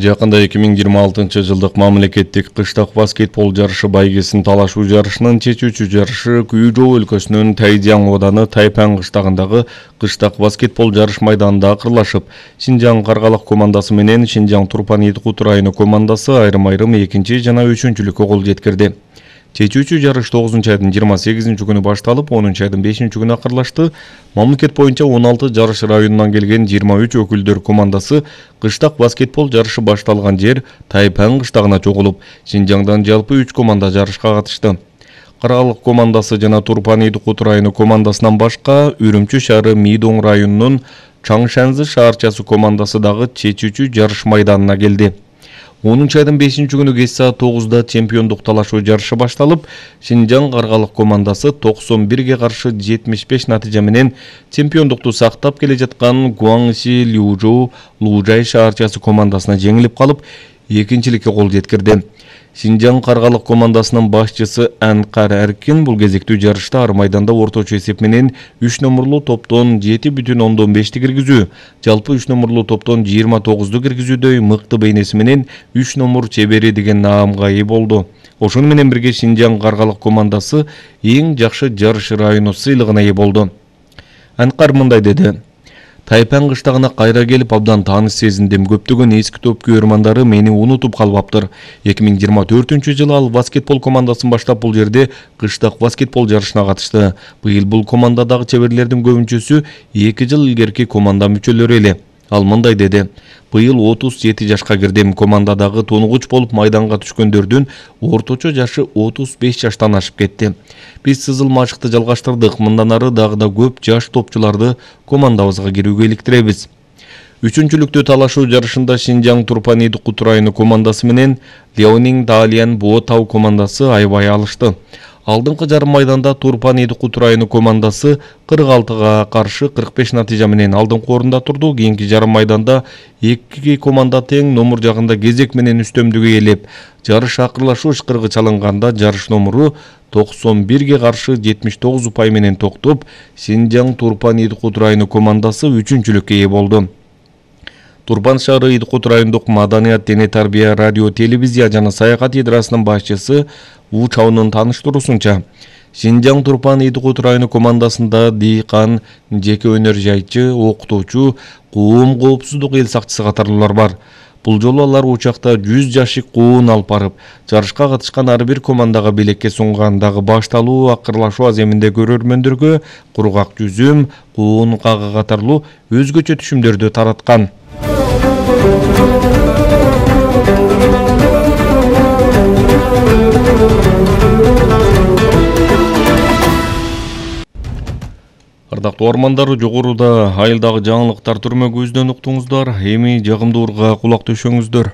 Жакында 2026-жылдык мамлекеттик кыштак баскетбол жарышы байгесин талашуу жарышынын чечүүчү жарышы Күйжоо өлкөсүнүн Тайдяң ооданы Тайпан кыштагындагы кыштак баскетбол жарыш майданында акырлашып, Шинжаң Каргалык командасы менен Шинжаң Турпан Идкут району командасы айрым-айрым экинчи жана үчүнчүлүккө кол жеткирди. Чечүүчү жарыш 9-айдын 28 күнү башталып, 10-айдын 5 күнү акырлашты. Мамлекет боюнча 16 жарыш районунан келген 23 өкүлдөр командасы кыштак баскетбол жарышы башталган жер Тайпан кыштагына чогулуп, Шинжаңдан жалпы 3 команда жарышка катышты. Каргалык командасы жана Турпан Идкут району командасынан башка Үрүмчү шаары Мийдоң районунун Чаңшанзы шаарчасы командасы дагы чечүүчү жарыш майданына келди. 10-айдын 5 күнү кеч саат 9-да чемпиондук талашуу жарышы башталып, Шинжаң Каргалык командасы 91-ге каршы 75 натыйжа менен чемпиондукту сактап келе жаткан Гуаңши Лужоу Лужай шаарчасы командасына жеңилип калып, экинчиликке кол жеткирди. Шинжаң Каргалык командасынын башчысы Анкар Эркин бул кезектүү жарышта ар майданда орточо эсеп менен 3 номерлуу топтон 7,5 киргизүү, жалпы 3 номерлуу топтон 29 киргизүүдөй мыкты бейнеси менен 3 номер чебери деген наамга ээ болду. Ошону менен бирге Шинжаң Каргалык командасы эң жакшы жарыш району сыйлыгына ээ болду. Анкар мындай деди: Тайпан кыштагына кайра келип абдан тааныш сезиндим. Көптөгөн эски топ көрмандары мени унутуп калбаптыр. 2024-жылы ал баскетбол командасын баштап бул жерде кыштак баскетбол жарышына катышты. Быйыл бул командадагы чеберлердин көбүнчөсү 2 жыл илгерки команда мүчөлөрү эле. Ал мындай деди: Быйыл 37 жашка кирдим. Командадагы тонугуч болуп майданга түшкөндөрдүн орточо жашы 35 жаштан ашып кетти. Биз сызыл машыкты жалгаштырдык. Мындан ары дагы да көп жаш топчуларды командабызга кирүүгө иликтиребиз. Үчүнчүлүктүү талашуу жарышында Шинжаң Турпан Идкут району командасы менен Леонин Далиан Боо Тау командасы аябай алышты. Алдыңкы жарым майданда Турпан Идкут району командасы 46-га каршы 45 натыйжа менен алдыңкы орунда турду. Кийинки жарым майданда эки команда тең номер жагында кезек менен үстөмдүк ээлеп, жарыш акырлашуу ышкырыгы чалынганда жарыш номеру 91-ге каршы 79 упай менен токтоп, Шинжаң Турпан Идкут району командасы үчүнчүлүккө ээ болду. Турпан шаары Идкут райондук маданият, дене тарбия, радио, телевизия жана саякат идрасынын башчысы У Чаунун тааныштыруусунча, Шинжаң Турпан Идкут району командасында дыйкан, жеке өнөр жайчы, окутуучу, коом коопсуздук эл сакчысы катарлуулар бар. Бул жолу алар учакта 100 жашык коон алып барып, жарышка катышкан ар бир командага белекке сунгандагы башталуу акырлашуу аземинде көрөрмөндөргө кургак жүзүм, коон кагы катарлуу өзгөчө түшүмдөрдү тараткан. Ардактуу ормандар, жогоруда айылдагы жаңылыктар түрмөгүбүздөн уктуңуздар. Эми жагымдуу урга кулак төшөңүздөр.